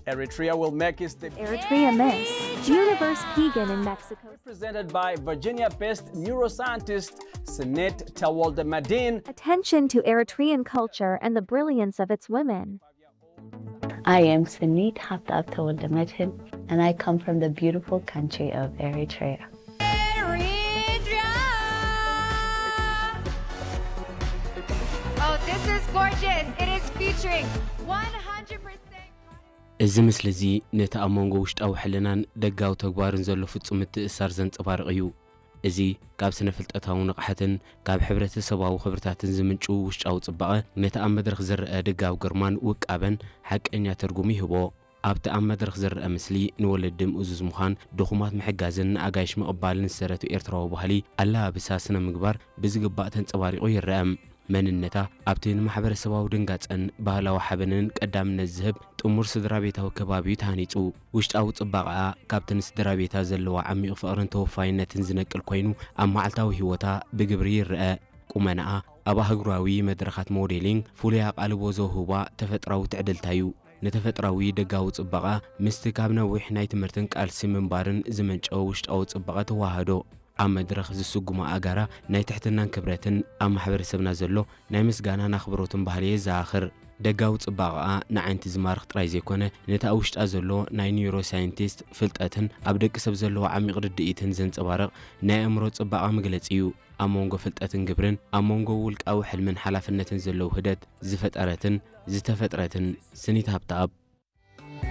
Eritrea will make its debut. Eritrea Miss Universe pageant in Mexico. Represented by Virginia-based neuroscientist Sinet Tawalda Madin. Attention to Eritrean culture and the brilliance of its women. I am Sinit Haptab Tawalda Madhin, and I come from the beautiful country of Eritrea. Eritrea. Oh, this is gorgeous. It is featuring one hundred percent. እዚ ምስሊ እዚ ነቲ ኣብ መንጎ ውሽጣዊ ሕልናን ደጋዊ ተግባርን ዘሎ ፍጹም ምትእስሳር ዘንጸባርቕ እዩ። እዚ ካብ ስነ-ፍልጠታዊ ንቕሓትን ካብ ሕብረተሰባዊ ክብርታትን ዝምንጩ ውሽጣዊ ጽባቐ፣ ነቲ ኣብ መድረኽ ዝረኣ ደጋዊ ግርማን ውቃበን ሓቀኛ ትርጉም ይህቦ። ኣብቲ ኣብ መድረኽ ዝረኣ ምስሊ፣ ንወለዲ ምእዙዝ ምዃን፣ ድኹማት ምሕጋዝን ንኣጋይሽ ምቕባልን ዝሰረቱ ኤርትራዊ ባህሊ፣ ኣለባብሳ፣ ስነ-ምግባር ብዝግባእ ተንጸባሪቑ ይረአ። መንነታ ኣብቲ ንማሕበረሰባዊ ድንጋጸን ባህላዊ ሓበንን ቀዳምነት ዝህብ ጥሙር ስድራ ቤታዊ ከባቢ እዩ ተሃኒጹ። ውሽጣዊ ጽባቐኣ ካብቲ ንስድራ ቤታ ዘለዋ ዓሚቕ ፍቕርን ተወፋይነትን ዝነቅል ኮይኑ፣ ኣብ መዓልታዊ ህይወታ ብግብሪ ይረአ። ቁመናኣ ኣብ ኣህጉራዊ መድረኻት ሞዴሊንግ ፍሉይ ኣቓልቦ ዘውህባ ተፈጥራዊ ትዕድልታ እዩ። ንተፈጥራዊ ደጋዊ ጽባቐ ምስቲ ካብ ነዊሕ ናይ ትምህርትን ቃልሲ ምንባርን ዝመንጨወ ውሽጣዊ ጽባቐ ተዋህዶ። ኣብ መድረኽ ዝስጉማ ኣጋራ ናይ ትሕትናን ክብረትን ኣብ ማሕበረሰብና ዘሎ ናይ ምስጋናን ኣኽብሮትን ባህሊ የዘኻኽር። ደጋዊ ጽባቐኣ ንዓይንቲ ዝማርኽ ጥራይ ዘይኮነ፣ ነቲ ኣብ ውሽጣ ዘሎ ናይ ኒውሮሳይንቲስት ፍልጠትን ኣብ ደቂ ሰብ ዘለዎ ዓሚቕ ርድኢትን ዘንጸባርቕ ናይ ኣእምሮ ጽባቐ መግለጺ እዩ። ኣብ መንጎ ፍልጠትን ግብርን፣ ኣብ መንጎ ውልቃዊ ሕልምን ሓላፍነትን ዘሎ ውህደት ዝፈጠረትን ዝተፈጥረትን ስኒት ሃብተኣብ፣